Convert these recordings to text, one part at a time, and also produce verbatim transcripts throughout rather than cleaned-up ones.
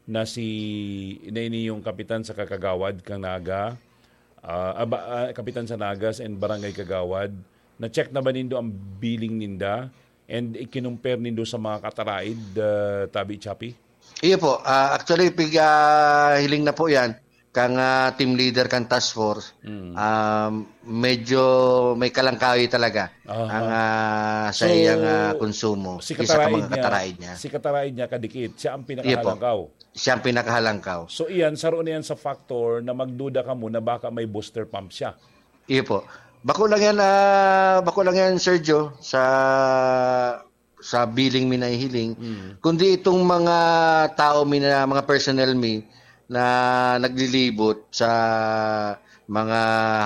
na si, na ini yung kapitan sa kakagawad kang Naga, ah, aba, ah, kapitan sa Nagas and barangay kagawad, na-check na ba nindo ang billing ninda? And ikinumpare nindo sa mga kataraid, ah, Tabi Chappy? Iyo po. Ah, actually, pig, ah, hiling na po yan. Kang, ah, team leader, kang task force, Mm. um, medyo may kalangkawi talaga Aha. ang, ah, sa So, iyang, ah, konsumo si kisa ka kataraid mga niya, kataraid niya. si kataraid niya kadikit, siya ang Iyo po. pinakahalangkaw. Siya ang pinakahalangkaw. So, iyan, saro na yan sa factor na magduda ka mo na baka may booster pump siya. Iyo po. Bako lang yan, ah, bako lang yan, Sergio, sa, sa billing mi nahihiling. Mm. Kundi itong mga tao mi na, mga personnel mi na naglilibot sa mga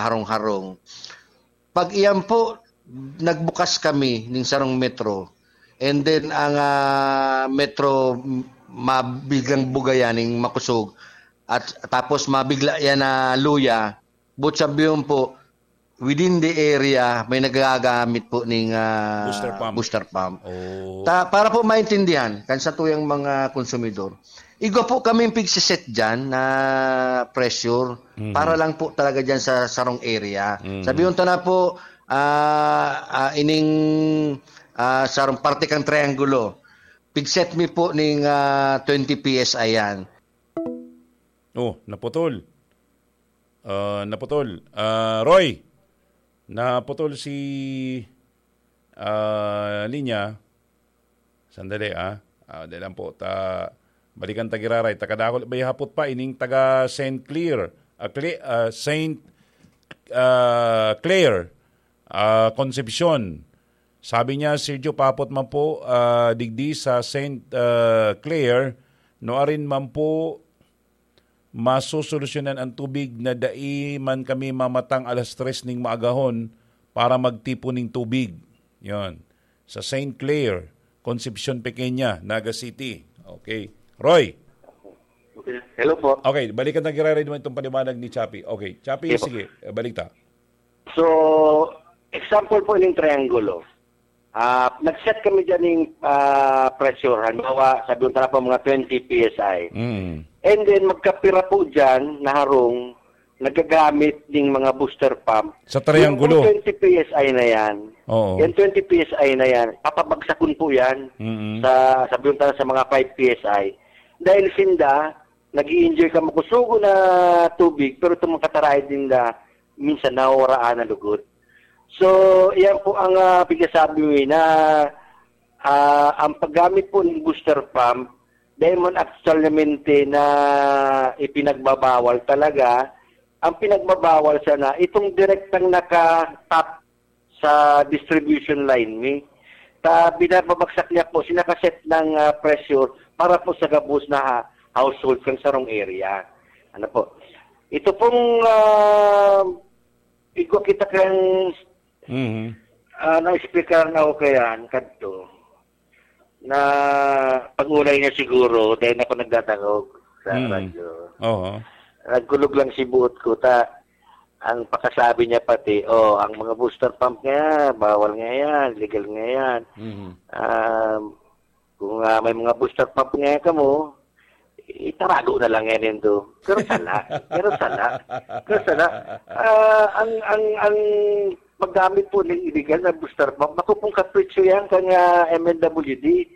harong-harong. Pag iyan po, nagbukas kami ning sarong metro. And then, ang, ah, metro, m-, mabiglang bugayan ning makusog. At tapos mabigla yan na luya. But sabi yun po, within the area, may nagagamit po ning, ah, Booster pump. booster pump. Oh. Ta-, para po maintindihan, kan sa tuyang mga konsumidor, igwa po kaming pigsiset dyan na pressure Mhm. para lang po talaga dyan sa sarong area. Mhm. Sabi yun, tana po, ah, ah, ining, ah, sarong parte kang triangulo, pigset mi po ning, ah, twenty P S I yan. Oh, naputol. Ah, naputol. Ah, Roy, naputol si, ah, linya. Sandali, ah. Ah, dali lang po. Ta-, balikan ta giraray. Takadakol, may hapot pa. Ining taga Saint Clair. Ah, Cle-, ah, Saint, ah, Clair. Ah, Concepcion. Sabi niya, "Sergio, papot man po, ah, digdi sa Saint, ah, Clair, no arin man po masosolusyonan ang tubig na dai man kami mamatang alas tres ning maagahon para magtipon ning tubig." Yon. Sa Saint Clair, Concepcion Pequeña, Naga City. Okay. Roy. Okay. Hello po. Okay, balikan na giraray naman itong paliwanag ni Chappy. Okay, Chappy, Sige po. sige, eh, balik ta. So, example po yung triangulo. Ah, nag-set kami dyan ng, ah, pressure. Halimbawa, sabi ko na po, mga twenty P S I. Mm. And then, magkapira po dyan na harong nagagamit ng mga booster pump. Sa triangulo. Yung twenty P S I na yan, Oo. yung twenty P S I na yan, papabagsakon po yan Mm-mm. sa, sabi ko na, sa mga five P S I. Dahil sinda, nag-i-enjoy ka makusugo na tubig, pero itong mga kataraid ninda, minsan nawawaraan na lugod. So, iyan po ang, ah, pigkasabi mo, eh, na, ah, ang paggamit po ng booster pump, dahil man actualmente na ipinagbabawal talaga, ang pinagbabawal sana, itong direktang naka-tap sa distribution line ni. Ta, binababagsak niya po, sinakaset ng, ah, pressure para po sa gabos na ha-, household kang sarong area. Ano po? Ito pong, ah, igwa kita kang, Mhm. ah, na-explicaran ako kaya, kadto, na pag-ulay niya siguro, dahil ako nagdadangog sa Mhm. radyo. Oo. Nagkulog lang si buot ko, ta, ang pakasabi niya pati, "Oh, ang mga booster pump nga, bawal nga yan, legal nga yan." Mhm. Um, kung, ah, may mga booster pump nga kamo, itarago na lang yan, ito. Pero sala. Pero sala. Pero sala. Ah, ang, ang, ang paggamit po ng illegal na booster pump, makupong kapritsyo yan kang, ah, M N W D.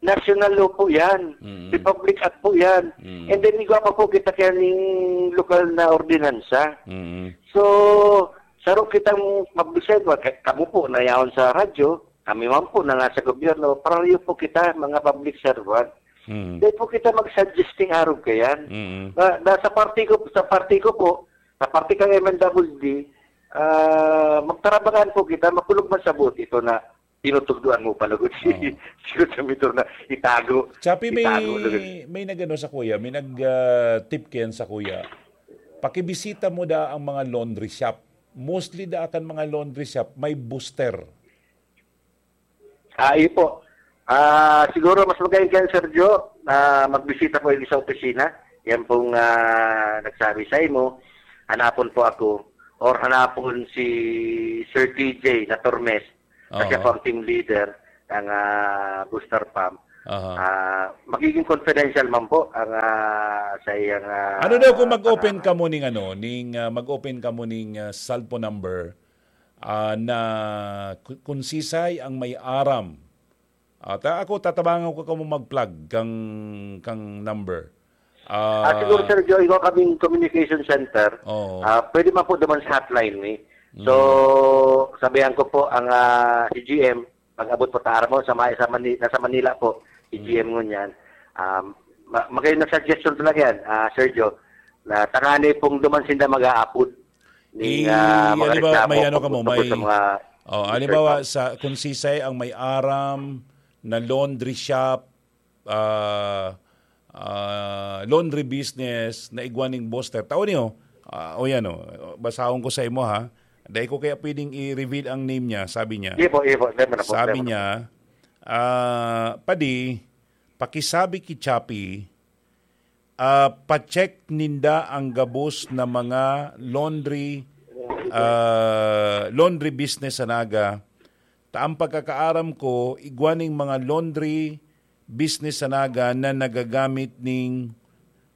National law po yan. Mm. Republic Act po yan. Mm. And then, igwa pa po kita kaya ning lokal na ordinansa. Mm. So, saro kitang publisher, wa-, ka-, kamo po, nayaon sa radyo, kami man po na nasa gobyerno, pareho po kita, mga public servant. Mm. Dahil po kita mag-suggesting arog kayan. Mm. Na, na sa parti ko, sa parti ko po, sa parti kang M N W D, ah, magtarabangan po kita, makulog man sa buot ito na tinutugduan mo pa lugod si, Oo. si Kutsumitor na itago. Chappy, may, Itago lugod. may nag-ano sa kuya, may nag, ah, tip kayan sa kuya. Pakibisita mo da ang mga laundry shop. Mostly da kan mga laundry shop, may booster. Ah, iyo po. Ah, siguro mas magayon kayan, Sergio, na magbisita po yung sa opisina. Yan pong, ah, nagsabi sa imo. Hanapon po ako or hanapon si Sir T J na Tormes. Kasi Oo. ako ang team leader ng, ah, booster pump. Aha. Ah, magiging confidential man po ang, ah, sa iyang, ah, Ano daw kung mag-open pangalan. Kamo ning ano, ning, ah, mag-open kamo ning, ah, cellphone number, ah, na ku-, kun sisay ang may aram? Ah, ta-, ako, tatabangan ko kamo mag-plug kang, kang number. Ah, Ah, siguro, Sir Joe, ikaw kaming communication center. Oo. Ah, pwede man po duman sa hotline, eh. So, Mm. sabihan ko po ang, ah, si G M, pag-abot po ta, aram mo, sa may, sa Mani-, nasa Manila po, si Mm. G M ngunyan. Um, ma-, magayon na suggestion talaga yan, ah, Sir Joe, na tangani pong duman sinda mag-aapod. Ning, I-, ah, mga halimbawa, reklamo may ano ka mo, pagtubod sa may, mga oh, halimbawa, sa, kung sisay ang may aram na laundry shop, ah, ah, laundry business na igwa ning Boster. Tao niyo, ah, o yan, oh, basahon ko sa imo, ha. Dai ko kaya pwedeng i-reveal ang name niya, sabi niya. Iye po, iye po. Dai man na po, Sabi dai man na niya, ah, "Padi, pakisabi ki Chappy, ah, pa-check ninda ang gabos na mga laundry, ah, laundry business sa Naga. Ta ang pagkakaaram ko, igwa ning mga laundry business sa Naga na nagagamit ning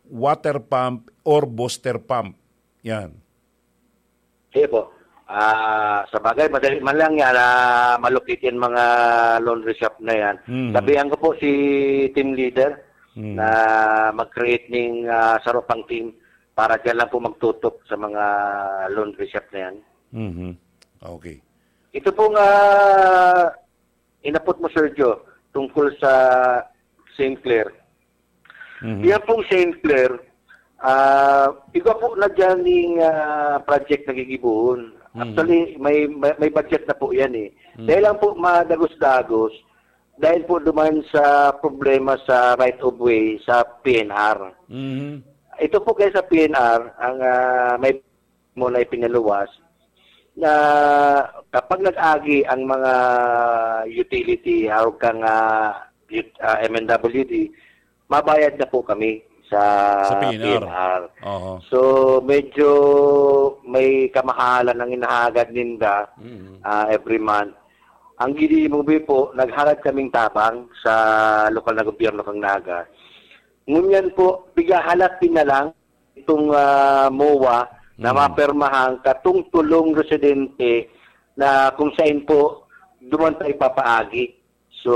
water pump or booster pump." Yan. Sige po. Ah, sa bagay, madali man lang yan, ah, malupit yan mga laundry shop na yan. Mhm. Sabihan ko po si team leader Mhm. na mag-create ning, ah, saro pang team para dyan lang po magtutok sa mga laundry shop na yan. Mhm. Okay. Ito pong, ah, inapot mo, Sergio, tungkol sa Saint Clair. Mhm. Yan pong Saint Clair, ah, iba po na dyan yung, ah, project na gigibohon. Mhm. Actually, may, may, may budget na po yan eh. Mhm. Dahil lang po madagos-dagos, dahil po duman sa problema sa right of way sa P N R. Mhm. Ito po kaya sa P N R, ang, ah, may mo na ipinaluwas na kapag nag-agi ang mga utility, hawag kang, ah, ut-, ah, M N W D, mabayad na po kami sa Sa P N R. P N R. Oho. So, medyo may kamahalan ang inahagad ninda, Mm. ah, every month. Ang ginigibo po, naghalad kaming tabang sa lokal na gobyerno kang Naga. Ngunyan po, pigahalat din na lang itong, ah, MOA na Mm. mapermahan katong tulong residente na kung saan po duman ta ipapaagi. So,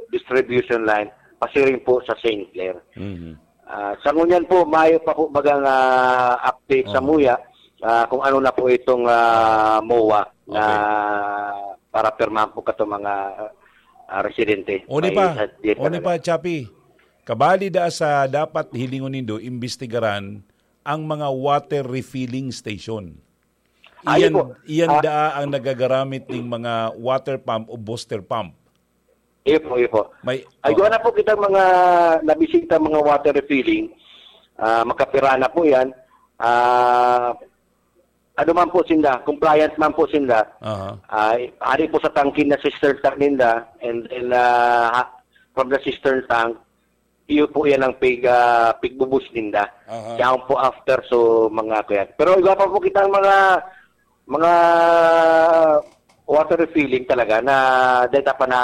distribution line, pasiring po sa Saint Clair. Mhm. Ah, sa ngunyan po, mayo pa po bagang, ah, update sa Oo. MOA, ah, kung ano na po itong, ah, MOA na Okay. para pirmahan po kato mga, ah, residente. Uni May pa, sa, di uni talaga. pa, Chappy, kabali da sa dapat hilingon nindo, imbestigaran ang mga water refilling station. Ah, yun Iyan, po. iyan Ah, daa ang nagagaramit ning mga water pump o booster pump. Iyo po, iyo po. May, Ay, oo. Gawa na po kita mga nabisita, mga water refilling. Ah, makapira na po yan. Ah, ano man po sinda, compliant man po sinda. Aha. Ah, ari po sa tangke na cistern tank ninda. And then, ah, ha-, from the cistern tank, iyo po yan ang pig, ah, pigbubus ninda. Aha. Siya po after, so, mga kuyan. Pero iba pa po kitang mga, mga water refilling talaga na data pa na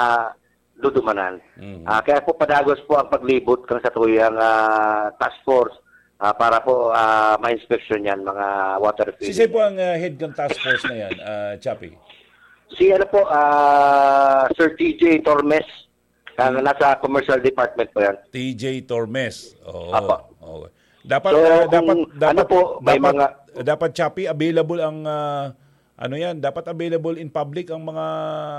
dudumanan. Mhm. Ah, kaya po padagos po ang paglibot kan sa tuyang, ah, task force, ah, para po, ah, ma-inspection yan, mga water refilling. Sisay po ang, ah, head kan task force na yan, ah, Chappy? Si ano po, ah, Sir T J Tormes. Ah, Hmm. nasa commercial department po yan. T J Tormes. Oo. Apo. Oo. Dapat, So, ah, kung dapat, ano dapat, po, may dapat, mga dapat, Chappy, available ang, ah, ano yan, dapat available in public ang mga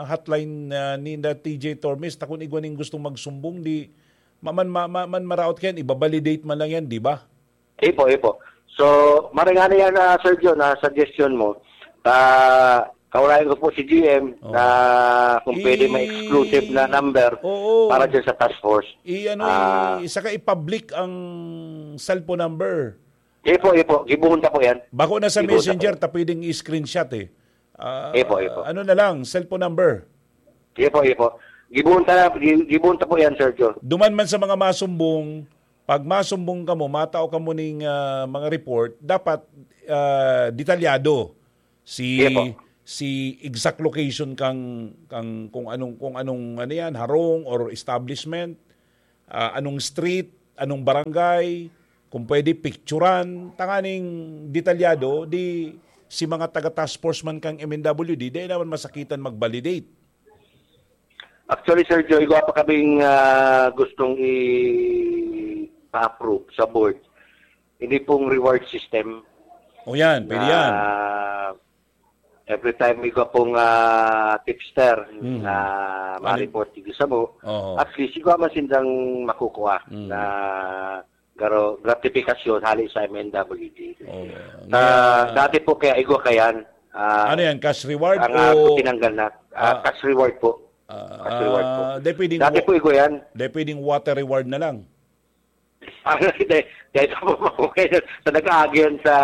hotline, ah, ni na T J Tormes. Ta kun igwa ning gustong magsumbong, di, ma-, man, ma-, ma-, man maraot kayan, ibabalidate man lang yan, di ba? Ipo, ipo. So, maring ano yan, ah, Sir John, ah, suggestion mo. Ah, kaulayan ko po si G M Oo. na kung pwede may I-, exclusive na number oo. para dyan sa task force. I-, ano, Ah. i-, saka i-public ang cellphone number. Ipo, ipo. Gibuhon ta po yan. Bako na sa Gibuhon ta messenger, po. ta pwedeng i-screenshot eh. Ah, Ipo, ipo. ano na lang, cellphone number. Ipo, ipo. Gibuhon ta, gi-, gibuhon ta po yan, Sir John. Duman man sa mga masumbong, pag masumbong kamo, matao kamo ning, ah, mga report, dapat, ah, detalyado si, Ipo. si exact location kang, kang kung anong, kung anong ano yan, harong or establishment, ah, anong street, anong barangay, kung pwede, picturan, tanganing detalyado, di si mga taga task force man kang M N W D, di naman masakitan mag-validate. Actually, Sir Joe, igwa pa kaming ah, gustong i-approve sa board. Hindi pong reward system. O yan, pwede yan. Every time igwa pong ah, tipster Mhm. na Ano- ma-report yung sa mo, Oo. at least igwa man sindang makukuha Mm. na garo gratifikasyon hali sa M N W D. Oo. Ah, Nga- dati po kaya igwa kayan. Ah, Ano yan? Cash reward ang o ah, po tinanggal na. Ah, Ah. cash reward po. Ah, Cash reward po. ah, di pwedeng Dati wa- po igwa yan. Di pwedeng water reward na lang. Ano, hindi. Dahil po po kayo sa nag-aagi yan sa,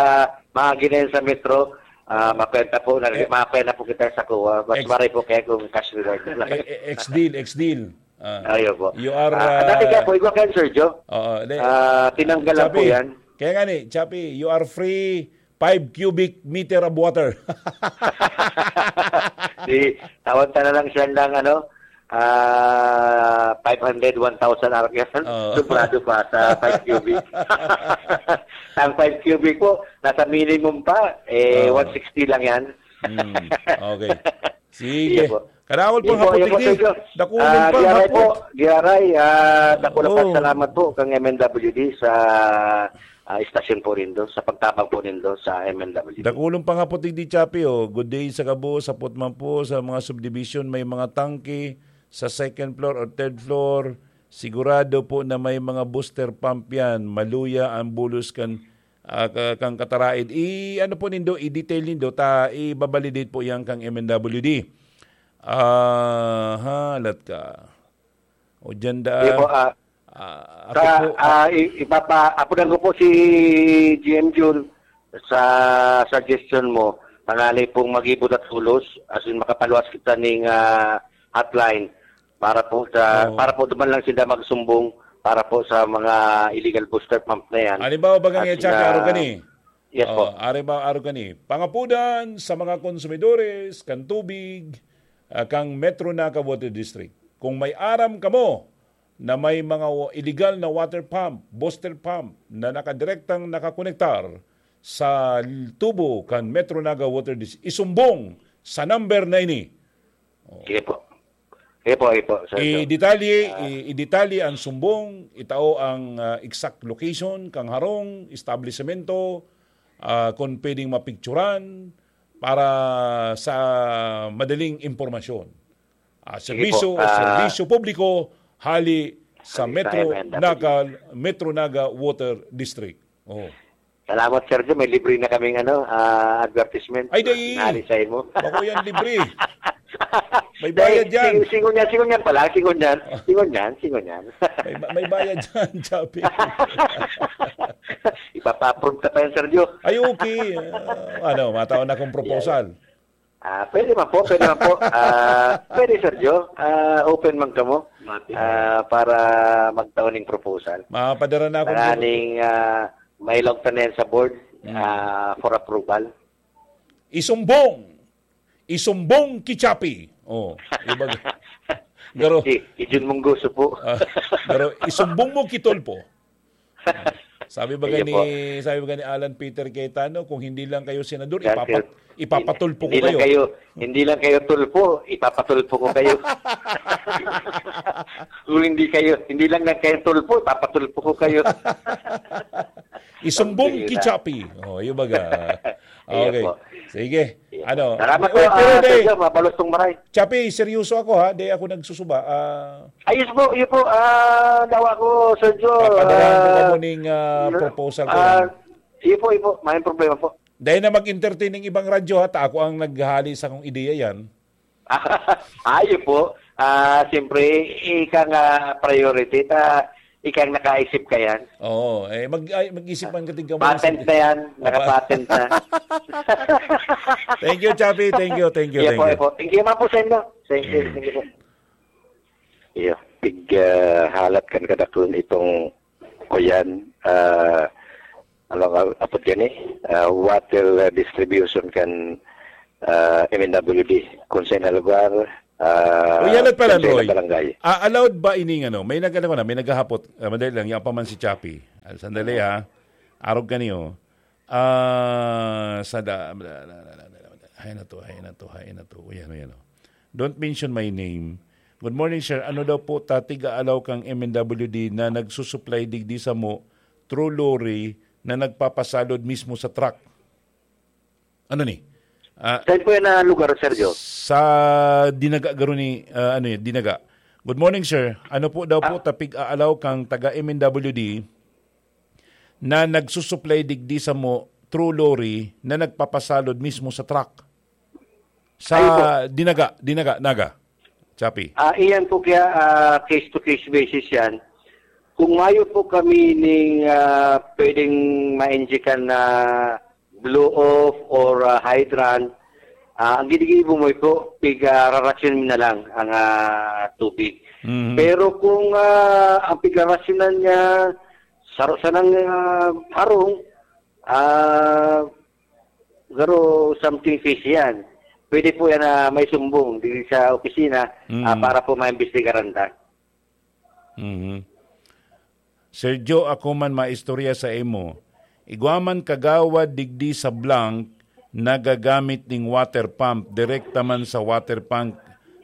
maagi na yan sa metro, ah, makwenta po, na, Eh, makwenta po kita sa kuha. Mas ex- maray po kaya kung cash reward na lang. Eh, eh, ex-deal, ex-deal. Ah. Ayun po. You are, Ah, ah, dati kaya po, igwa kayo, Sir Joe. Oo, di, Ah, tinanggalan po Chappy, yan. Kaya nga ni, Chappy, you are free five cubic meter of water. Di, tawag ta na lang siya ng ano, ah, five hundred, one thousand ark yan. Oo. Sobrado pa sa five cubic. Ang five cubic po, nasa minimum pa, eh, Oo. one sixty lang yan. Hmm. Okay. Sige. Iya po. Kadakol Iya pang po, hapot, iya po, Igdi. Sir Joe. Dakulon Ah, pang Giaray hapot. po, Giaray, ah, dakula pa Oo. salamat po kang M N W D sa ah, istasyon po nindo, sa pagtabang po nindo sa M N W D. Dakulon pang hapot, Igdi Chappy, oh. Good day sa gabos, hapot man po sa mga subdivision, may mga tangke sa second floor or third floor. Sigurado po na may mga booster pump yan. Maluya ang bulos kan, ah, ka- kang kataraid. I, ano po nindo, i-detail nindo, ta, i-validate po yan kang M N W D. Ah, ha, lat ka. O dyan da. Di po, ah, Ah, ako sa, po, ah, i- ipapa, apunan ko po si G M Jun sa suggestion mo, tangali pong mag-ibot at hulos, as in makapaluwas kita ning ah, hotline para po sa Oo. para po duman lang sila magsumbong para po sa mga illegal booster pump na yan. Halimbawa, bagang At i-check, sina- araw kani. Yes po. Oh, ari ba, araw kani. Pangapudan sa mga konsumidores kan tubig, ah, kang Metro Naga Water District. Kung may aram kamo na may mga wa- illegal na water pump, booster pump na nakadirektang nakakonektar sa l- tubo kan Metro Naga Water District, isumbong sa number na ini. Sige po. Sige po, sige po. Sir, sir. I-detalye, Ah. i- i-detalye ang sumbong, itao ang ah, exact location, kang harong, establisemento, ah, kung pwedeng mapicturan para sa madaling impormasyon. Ah, Sige serbisyo, po, ah, serbisyo publiko hali sa Hali sa Metro M N W. Naga, Metro Naga Water District. Oh. Salamat, Sergio. May libre na kaming ano, ah, advertisement. Ay, dai. Nari sa imo. Bako yan libre. May bayad yan. Sing- Singon yan, singon yan pala. Singon yan. Singon yan, singon yan. May, may bayad yan, Chappy. Ipapa-approve ka pa yan, Sergio. Ay, okay. Ah, ano, mataon na akong proposal. Ah, pwede man po, pwede man po. Ah, pwede, Sergio. Ah, open man kamo Mati. ah, para magtao ning proposal. Mapadara na akong Tanganing ah, mailog ta na yan sa board Mm. ah, for approval. Isumbong. Isumbong ki Chappy. Oh, iba. Garo, Si, si Jun Mungguso po. Ah, garo, isumbong mo ki Tulfo. Sabi ba Sige ni, po. Sabi ba ni Alan Peter Cayetano, kung hindi lang kayo senador, Yan, ipapa, sir. ipapatulpo ko Hindi lang kayo. kayo, hindi lang kayo Tulfo, ipapatulpo ko kayo. Kung hindi kayo, hindi lang lang kayo Tulfo, ipapatulpo ko kayo. Isumbong Sige ki na. Chappy. Oh, iyo baga. Iyo Okay. po. Sige. Iyo Ano? po. Salamat po, Uy, pero ah, di, Sergio, mabalos tong maray. Chappy, seryoso ako ha. Di ako nagsusuba. Ah, Ayos po, iyo po. Ah, dawa ko, Sergio. Papadalahan ko ah, kamo ning, ah, proposal ko ah, yan. Iyo po, iyo po. May problema po. Dahil na mag-entertain ng ibang radyo ha, ta ako ang naghahali sa kong ideya yan. Ayo po. Ah, siyempre, ika nga priority, ta, ika ang nakaisip ka yan. Oo, eh, mag, ay, mag-isip man katig ka Patent na yan. Nakapatent na. Thank you, Chappy. Thank you, thank you, Iyo thank po, you. iyo po. Thank you man po sa inyo. Thank you, Mm. thank you po. Iyo, pig ah, halat kan kadaklan itong kuyan. Ah, ano nga, apod gani? Ah, water ah, distribution kan ah, M N W D, kung sa na lugar, ah, O, yan at pala, kung sa Roy. Barangay. Ah, allowed ba ining ano? May nag-, ano ko na, may naghahapot. Ah, madali lang, yan pa man si Chappy. Ah, sandali, ha? Arog ka niyo. Ah, sa da-, hay na to, hay na to, hay na to. O, yan, o, yan, o. Don't mention my name. Good morning, sir. Ano daw po ta tig-aalaw kang M N W D na nagsusupply digdi samo through lorry na nagpapasalod mismo sa truck? Ano ni? Ah, Saan po yan na lugar, Sergio? Sa Dinaga, garo ni, ah, ano yun, Dinaga. Good morning, sir. Ano po daw po Ah. ta pig-aalaw kang taga M N W D na nagsusupply digdi samo through lorry na nagpapasalod mismo sa truck? Sa Ayun po. Dinaga, Dinaga, Naga. Chappy. Ah, iyan po kaya, ah, case to case basis yan. Kung mayo po kami ning, ah, pwedeng ma-injectan na blow off or, ah, hydrant, ah, ang ginigibo mo po, pig, ah, rarasyon na lang ang, ah, tubig. Mhm. Pero kung, ah, ang pigrarasyonan niya, saro sanang, ah, harong, ah, garo something fishy yan. Pwede po yan na may sumbong dito sa opisina, Mm. ah, para po maimbestigaran ta. Mhm. Sergio, ako man maistorya sa imo. Igwa man kagawad digdi sa blank nagagamit ning water pump, direkta man sa water pump,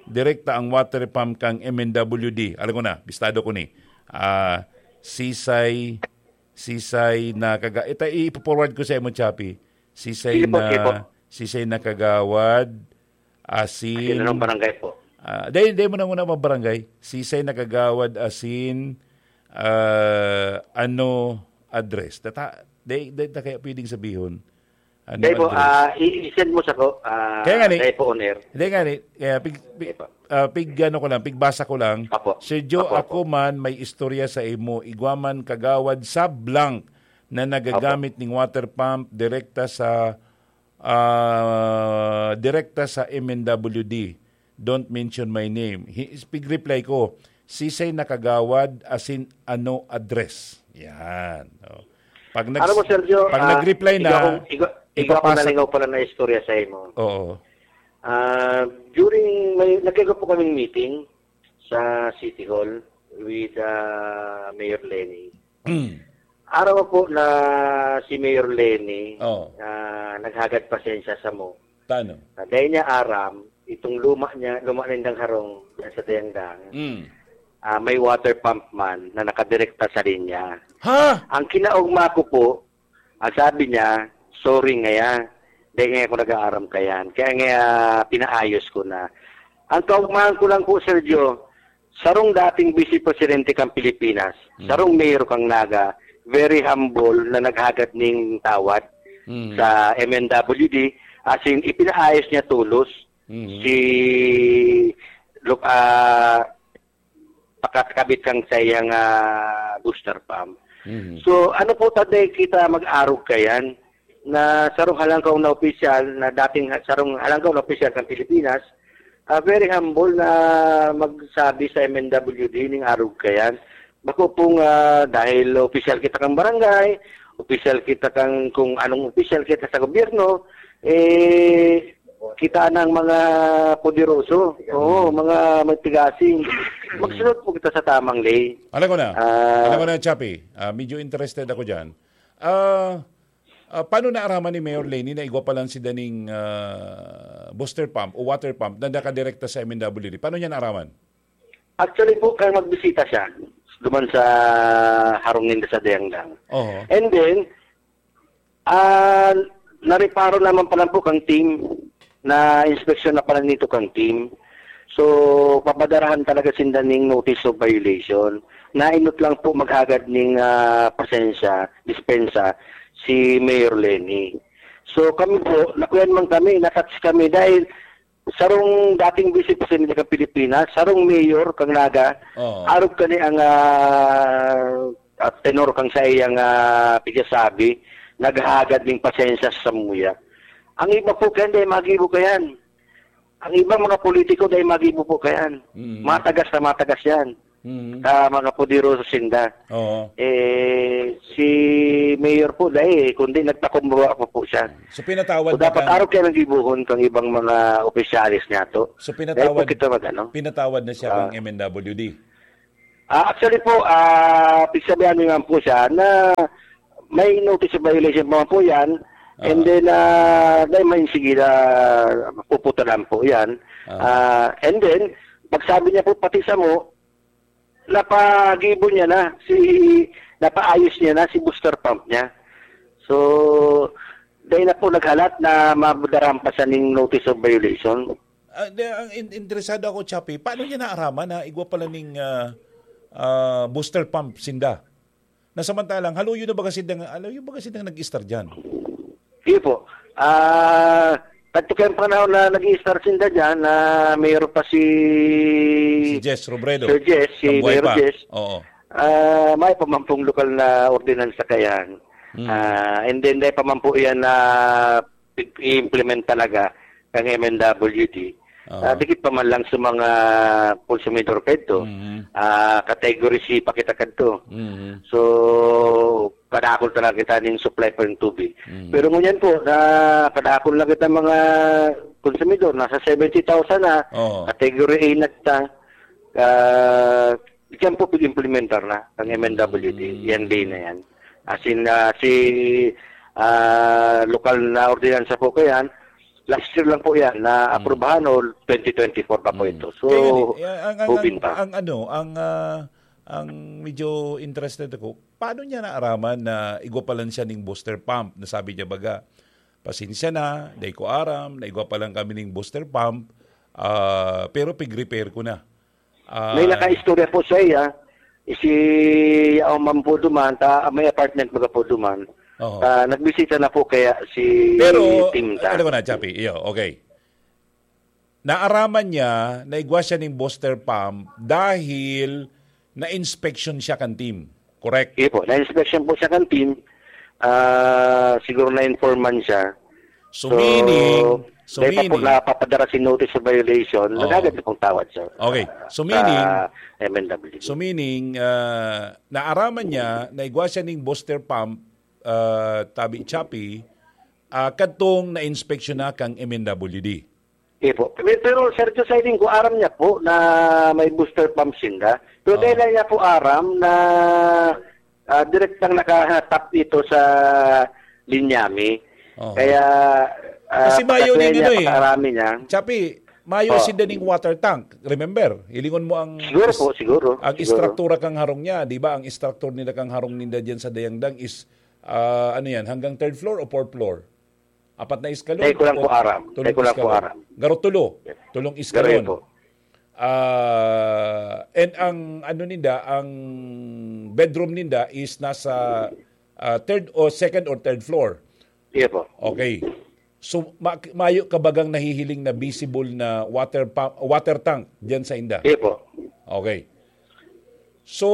direkta ang water pump kang M N W D. Alam ko na, bistado ko ni. Ah, Sisay, Sisay na kaga-, ita, i-forward ko sa imo, Chappy. Sisay Sige po, na, sige po. Sisay na kagawad, asin. Asin, anong barangay po? Ah, dahil, dahil mo na muna mga barangay. Sisay na kagawad, asin, ah, ano address? Tata, dahil, dahil na kaya pwedeng sabihin. Ano Dahil po, address? ah, i-, i-send mo sa ko, ah, Kaya nga ni, dahil po on air. Hindi nga ni, kaya pig, pig, Sige po. ah, pig, ano ko lang, pigbasa ko lang. Apo. Sir Joe, Apo, apo. Ako man may istorya sa imo. Igwa man kagawad sa blank na nagagamit Apo. ning water pump direkta sa, ah, direkta sa M N W D. Don't mention my name. Hi-, pig-reply ko, "Sisay na kagawad, asin ano address?" Yan. Oh. Pag nag-, Alam mo, Sergio, pag ah, nag-reply na, igwa kong, igwa, igwa kong ipapasa- nalingaw pala na istorya sa imo. Oo. Ah, during, may, nagkaigwa po kaming meeting sa City Hall with, ah, Mayor Leni. Mm. Araw po na si Mayor Leni, Oh. ah, naghagad pasensya sa mo. Tano? Ah, dahil niya aram, itong luma niya, luma nindang harong diyan sa Dayangdang, Mm. ah, may water pump man na nakadirekta sa linya. Ha? Ang kinaugma ko po, ang sabi niya, "Sorry ngaya, dahil ngaya ako nag-aaram kayan. Kaya ngaya pinaayos ko na." Ang kaugmahan ko lang po, Sergio, sarong dating vice presidente kang Pilipinas, Mm. sarong mayor kang Naga, very humble na naghagad ning tawad Mm. sa M N W D, as in, ipinaayos niya tulos Mm. si, look, ah, pakakabit kang sa iyang, ah, booster pump. Mm. So, ano po, tatay, kita mag-arog kayan na sarong halangkaw na opisyal, na dating ha-, sarong halangkaw na opisyal kang Pilipinas, ah, very humble na magsabi sa M N W D ning arog kayan. Bako pong, ah, dahil opisyal kita kang barangay, opisyal kita kang kung anong opisyal kita sa gobyerno, eh, kita ng mga poderoso. Oo, mga matigasing. Magsunod po kita sa tamang ley. Alam ko na. Ah. Alam ko na, Chappy. Ah, medyo interested ako dyan. Ah, ah, paano naaraman ni Mayor Leni na igwa pa lang si daning, ah, booster pump o water pump na nakadirekta sa M N W D? Paano niya naaraman? Actually po, kaya magbisita siya duman sa harong ninda sa Dayangdang. Oho. And then, ah, nareparo naman pala po kang team na inspeksyon na pala nito kang team. So, papadarahan talaga sinda ning notice of violation. Nainot lang po maghagad ning, ah, pasensya, dispensa, si Mayor Leni. So, kami po, nakuyan man kami, natouch kami dahil sarong dating vice presidente kang Pilipinas, sarong mayor kang Naga, Oo. arog kani ang, ah, ah, tenor kang sa iyang, ah, pigsasabi, naghagad ning pasensya sa samuya. Ang iba po kayan, dahil magibo kayan. Ang iba, mga politiko, dahil magibo po kayan. Mm. Matagas na matagas yan. Mm. Sa mga poderoso sinda. Oo. Eh, si mayor po dai, kundi nagpakumbaba pa po siya. So, pinatawad So, na dapat kang arog kaya nang gibuhon kang ibang mga opisyales niya to. So, Dahil po pinatawad, kita mag-ano. pinatawad na siya Ah. kang M N W D. Ah, actually po, ah, pigsabihan mo naman po siya na may notice of violation pa man po yan. And Ah. then, ah, dahil may sige na puputalan po yan. Ah. Ah, and then, pagsabi niya po pati sa mo, napagibo niya na si, napaayos niya na si booster pump niya. So, dahil na po naghalat na madarahan pa siya ning notice of violation. Ah, di, ang in-, interesado ako, Chappy, paano niya naaraman na igwa pala ning, ah, ah, booster pump sinda? Na samantalang, haluyo na baga sindang, haluyo baga sindang nag-istar dyan? Iyo po. Ah, kadto kayong panahon na nag-i-start sinda dyan, na mayroon pa si Si Jess Robredo. Sir Jess, si Mayor Jess. Oo. Ah, may pa man pong lokal na ordinansa kaya. Hmm. Ah, and then, dahil pa man po yan na i-implement talaga ng M N W D. Oo. Ah, dikit pa man lang sa mga konsumidor pa ito. Mhm. Ah, category C pa kita kadto. Mhm. So, kadakol talaga kita ning supply pa ng tubig. Mhm. Pero ngunyan po, na kadakol na kita mga konsumidor, nasa seventy thousand na, Oo. category A na kita. Ah, diyan po pag-implementar na ang M N W D, Mm. yan din na yan. As in, ah, si, ah, lokal na ordinansa po ko yan, last year lang po yan, na Mm. aprubahan o twenty twenty-four pa po Mm. ito. So, Kaya yan eh, ang, ang, hubin ang, pa. ang ano, ang, ah, ang medyo interested ako, paano niya naaraman na igwa pa lang siya ning booster pump? Nasabi niya baga, "Pasensya na, dai ko aram, na igwa pa lang kami ning booster pump, ah, pero pig-repair ko na." Ah, May nakaistorya po sa iya, si Yaong Man po duman, ta, may apartment baga po duman. Oo. Ah, nagbisita na po kaya si Pero, Tim ta. alam ko na, Chappy, iyo, okay. Naaraman niya na igwa siya ning booster pump dahil na-inspection siya kan Tim. Correct? Iyo po, na-inspection po siya kan Tim. Ah, siguro na-informan siya. So, So, meaning, so dahil pa po meaning, napapadara si notice of violation, Oo. nagagad na pong tawad, sir. Okay. So, Sa meaning, M N W D. so, meaning, ah, naaraman niya na igwa siya ning booster pump, ah, tabi Chappy, ah, kadtong na-inspection na kang M N W D. Iyo po. Pero, pero, Sir Jocelyn, kung aram niya po na may booster pump sinda, pero Oo. dahil lang niya po aram na, ah, direktang nakahatap ito sa linyami. Oo. Kaya, ah, Kasi mayo pagkasaya ning niya, ano eh, pakaarami niya. Chappy, mayo Oo. sinda ning water tank. Remember, hilingon mo ang Siguro is-, po, siguro, ang siguro. istruktura kang harong niya, di ba? Ang istruktura nila kang harong ninda diyan sa Dayangdang is, ah, ano yan, hanggang third floor o fourth floor? Apat na eskalon Dai ko lang o po aram. tulong Dai ko lang po eskalon? aram. Garo tulo. Yes. Tulong Garo eskalon. po. Ah, and ang ano ninda, ang bedroom ninda is nasa, ah, third o second or third floor. Iyo po. Okay. So, ma-, mayo ka bagang nahihiling na visible na water pump, water tank diyan sa inda? Iyo po. Okay. So,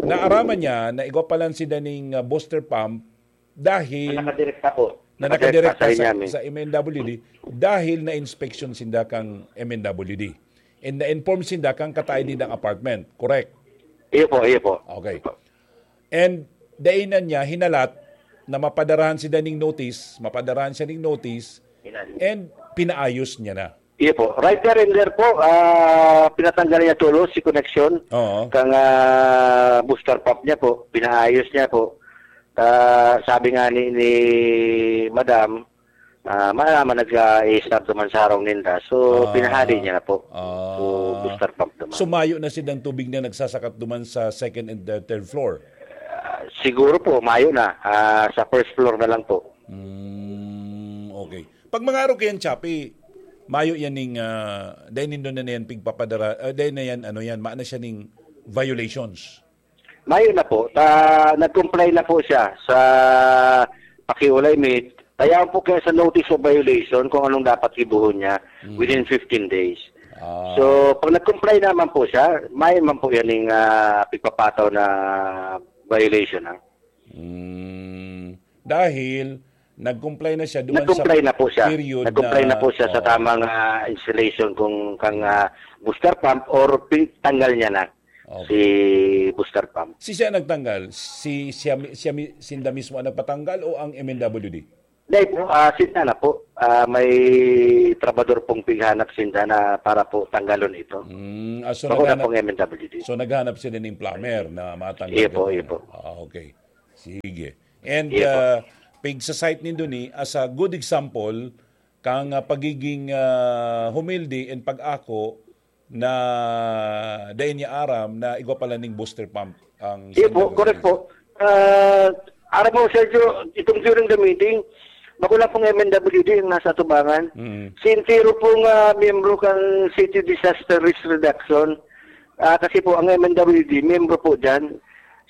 naaraman niya na igwa pa lang sinda ning, ah, booster pump dahil Na nakadirekta po. na Nakadirekta nakadirekta sa sa, inyami. sa M N W D dahil na-inspection sinda kang M N W D. And na-inform sinda kang kataid nindang apartment. Correct? Iyo po, iyo po. Okay. And dainan niya, hinalat na mapadarahan sinda ning notice, mapadarahan siya ning notice, Inan. and pinaayos niya na. Iyo po. Right there and there po, ah, pinatanggal niya tulos si connection Oo. kang, ah, booster pump niya po. Pinaayos niya po. Ah, sabi nga ni, ni Madam, ah, maalaman nag-i-start naman sa harong ninda. So, Ah. pinahali niya na po. Ah. So, booster pump naman. So, mayo na sinda ang tubig na nagsasakat duman sa second and, uh, third floor? Ah, siguro po, mayo na. Ah, sa first floor na lang po. Mm, okay. Pag mga araw kayan, Chappy, mayo yan ning, ah, dahil nindo na yan pigpapadara, ah, dahil na yan, ano yan, maana siya ning violations. Mayo na po. Ta, nag-comply na po siya sa pakiulay mi. Kaya po kaya sa notice of violation kung anong dapat gibuhon niya Mm. within fifteen days. Ah. So, pag nag-comply naman po siya, mayo man po yan yung, ah, pigpapataw na violation, ha? Mm. Dahil nag-comply na siya duman sa Nag-comply na po siya. period Nag-comply na na po siya sa oo. tamang, ah, installation kung kang, ah, booster pump or pi-, tanggal niya na Okay. si booster pump. Si siya nagtanggal? Si, siya mi-, siya mi-, sinda mismo ang nagpatanggal o ang M N W D? Dai po, ah, sinda na po. Ah, may trabador pong pighanap sinda na para po tanggalon ito. Mm, ah, so Bako na naghanap pong M N W D. So naghanap sila ning plumber na matanggal Iya po, ito. Iya po. Ah, okay. Sige. And, Iya po. ah, pig sa site nindo ni as a good example kang, ah, pagiging, ah, humilde and pag-ako na dai niya aram na igwa pala ning booster pump ang Iya po, sinagot correct niya. po. Ah, aram mo, Sergio, itong during the meeting, bako lang pong M N W D ang nasa atubangan. Mm. Si entero pong, ah, miyembro kang City Disaster Risk Reduction. Ah, kasi po, ang M N W D, miyembro po dyan.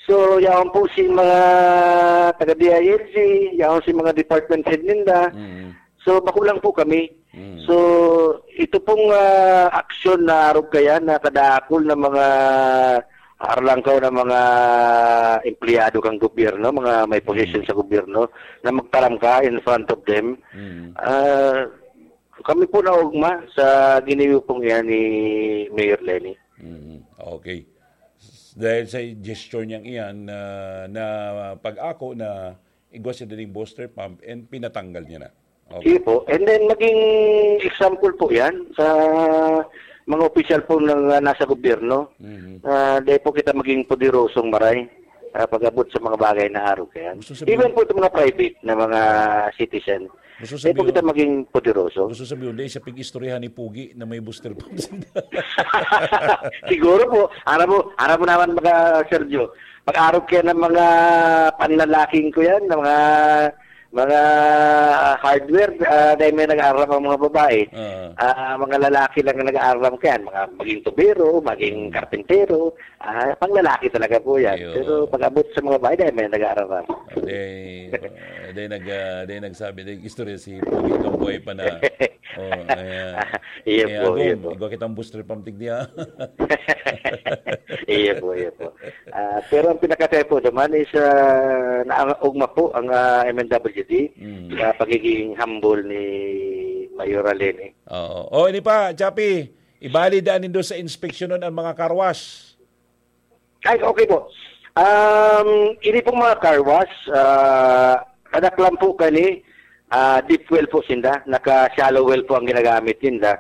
So, yaon po si mga taga D I L G, yaon si mga department head ninda. Mm. So, bako lang po kami. Mm. So, ito pong, ah, aksyon na arog kaya na kadakul na mga arlangkaw na mga empleyado kang gobyerno, mga may posisyon Mm. sa gobyerno, na magtaram ka in front of them. Mm. Ah, kami po naugma sa ginibo pong iyan ni Mayor Leni. Mm. Okay. S-, dahil sa gesture niyang iyan na, na pag-ako na igwa siya dining booster pump and pinatanggal niya na. Okay. Sige po. And then, maging example po yan sa mga opisyal po ng, ah, nasa gobyerno. Mhm. Ah, dahil po kita maging poderosong maray, ah, pag-abot sa mga bagay na arog yan. Gusto sabihin Even po itong mga private na mga citizen. Gusto Dahil po sabihin kita maging poderoso. Gusto sabihin, hindi siya pig-istoryahan ni Pugi na may booster pump. Siguro po, aram mo, aram mo naman mga Sergio, pag-arog kaya ng mga panlalaking ko yan, ng mga, mga hardware, ah, dahil may nag-aaram ang mga babae. Oo. Ah, mga lalaki lang ang nag-aaram kaya, mga maging tubero, maging Hmm. karpintero, ah, panglalaki talaga po yan. Ayun. Pero pag-abot sa mga babae, dahil may nag-aaram. Dahil, ah, dahil nag-, ah, dahil nagsabi, dahil istorya si Pugi nung buhay pa na. Oh, ayan. Iya Eh, po, iya Agom, po. igwa kitang booster pump tigdi, ah. Iya po, iya po. Ah, pero ang pinakatay po naman is, ah, naangogma po ang, ah, M N W D Mm. sa pagiging humble ni Mayor Leni. Oo. Oh, ini pa, Chappy, ibali daan nindo sa inspeksyon nun ang mga car wash. Ay, okay po. Um, ini pong mga car wash, ah, kadaklan po kani, ah, deep well po sinda. Naka-shallow well po ang ginagamit ninda.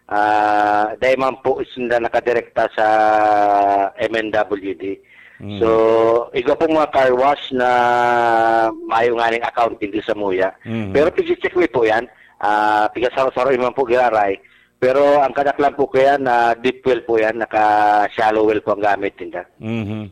Ah, dahil man po sinda nakadirekta sa M N W D. Mm. So, igwa pong mga car wash na mayo nga ning account, hindi sa muya. Mm. Pero pigche-check mi po yan. Ah, pigasaro-saro man po giraray. Pero ang kadaklan po kaya na deep well po yan, naka-shallow well po ang gamit ninda. Mhm.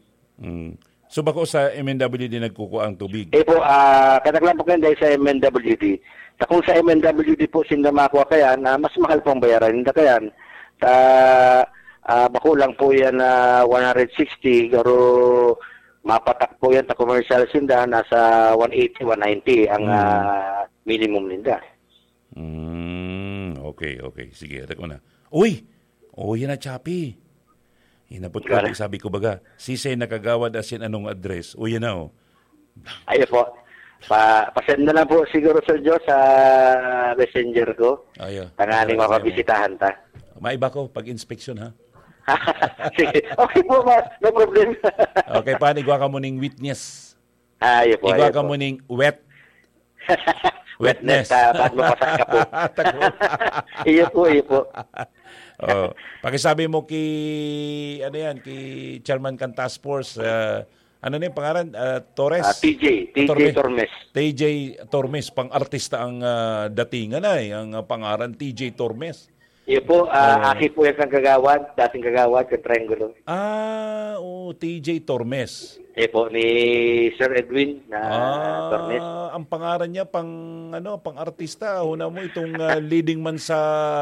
Mm. So, bako sa M N W D nagkukuha ang tubig? Eh po, ah, kadaklan po kaya dahil sa M N W D. Ta kung sa M N W D po sinda makuha kaya, na mas mahal pong bayaran ninda kaya. Ta, ah, bako lang po yan na one hundred sixty, pero mapatak po yan ta commercial sinda, nasa one eighty, one ninety ang, Hmm. ah, minimum ninda. Mm, okay, okay. Sige, atak ko na. Uy! Oh, yan na, Chappy. Hinapot ko, Wala. Sabi ko baga, "Sisay na kagawad asin anong address?" Oh, yan na, oh. Ayo po. Pa, pa-send na lang po siguro, Sir Joe, sa messenger ko. Ayo. Tanganing Ayo, mapabisitahan ta. Maiba ko pag-inspeksyon, ha? Sige. Okay po, ma-, no problem. Okay, pa, igwa ka mo ning witness. Ah, iyo po, Igwa iyo ka po. mo ning wet. Wetness. Wetness, ah, ba't mapasaka po? Tako. Iyo po, iyo po. Oh, pakisabi mo ki, ano yan, ki Chairman kan Task Force, ah, ano na yung pangalan? Ah, Torres? Ah, T J, T J Tormes. Tormes. T J Tormes, pang-artista ang, ah, datingan ay, ang, ah, pangalan, T J Tormes. Iyo po, ah, Oo. aki po yan kang kagawad, dating kagawad, kang Triangulo. Ah, oo, T J Tormes. Iyo po, ni Sir Edwin na Ah, Tormes. ang pangaran niya pang, ano, pang artista, huna mo itong, ah, leading man sa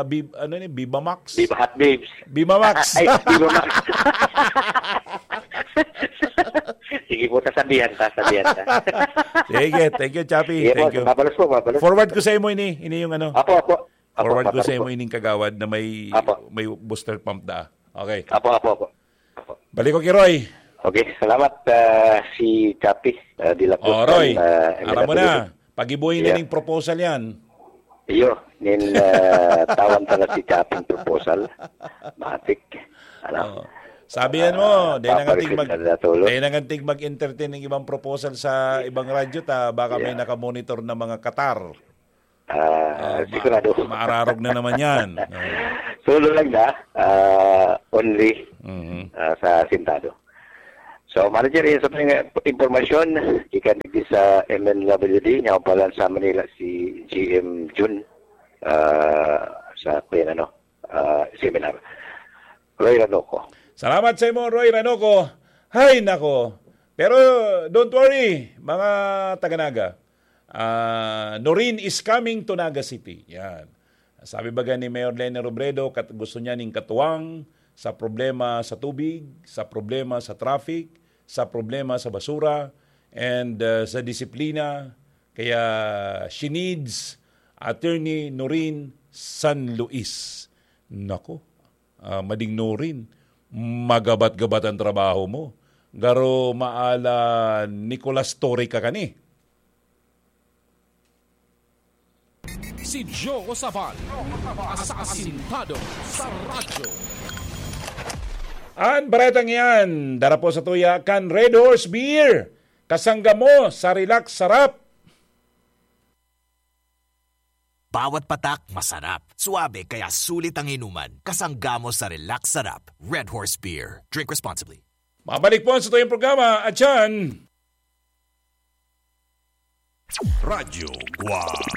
Bib-, ano ni, Viva Max. Viva Hot Babes. Viva Max. Ay, Viva Max. Sige po, sasabihan ta, sabihan ta. Sige, thank you, Chappy. Sige po, Thank you. mabalos po, mabalos. Forward ko sa imo ini, ini yung ano. Apo, apo. Apo, Forward ko apo, sa imo apo. ining kagawad na may, Apo. may booster pump da. Okay. Apo, apo, apo. Apo. Balik ko kay Roy. Okay, salamat, ah, si Chappy, ah, de la Cruz, Oh, Roy. ah, Aram mo M N W. na. Pagibuhin na Yeah. ning proposal yan. Iyo, nin, ah, tawan ta na si Chappy proposal. Matik. Ano? Oh. Sabi yan mo, Ah, dahil na nga tig mag-, Paparesin na natulog. Dahil na nga tig mag-entertain ng ibang proposal sa ibang radyo, ta baka may Yeah. nakamonitor na mga Qatar. Ah, Ah, ma-, sigurado. Maararog na naman yan. Oo. Solo lang na, ah, only, Mhm. ah, sa Sintado. So, manager, yun sa mga impormasyon, ikan digdi sa M N W D, niya pala sa Manila, si G M Jun, ah, sa, kaya ano, ah, seminar. Roy Ranoco. Salamat sa imo, Roy Ranoco. Hay, nako. Pero don't worry, mga taga-Naga. Ah, Noreen is coming to Naga City. Yan. Sabi baga ni Mayor Leni Robredo, kat-, gusto niya ning katuwang sa problema sa tubig, sa problema sa traffic, sa problema sa basura, and, ah, sa disiplina. Kaya she needs Attorney Noreen San Luis. Nako, ah, mading Noreen, magabat-gabat ang trabaho mo. Garo maala Nicolas Torre ka kani. Si Joe Sabal, asasintado sa radyo. An baretang iyan, dara po sa tuya kan Red Horse Beer. Kasangga mo sa Relax Sarap. Bawat patak, masarap. Suabe, kaya sulit ang inuman. Kasangga mo sa Relax Sarap. Red Horse Beer. Drink responsibly. Mabalik po sa tuyong programa, Atyan. Radyo Guwang.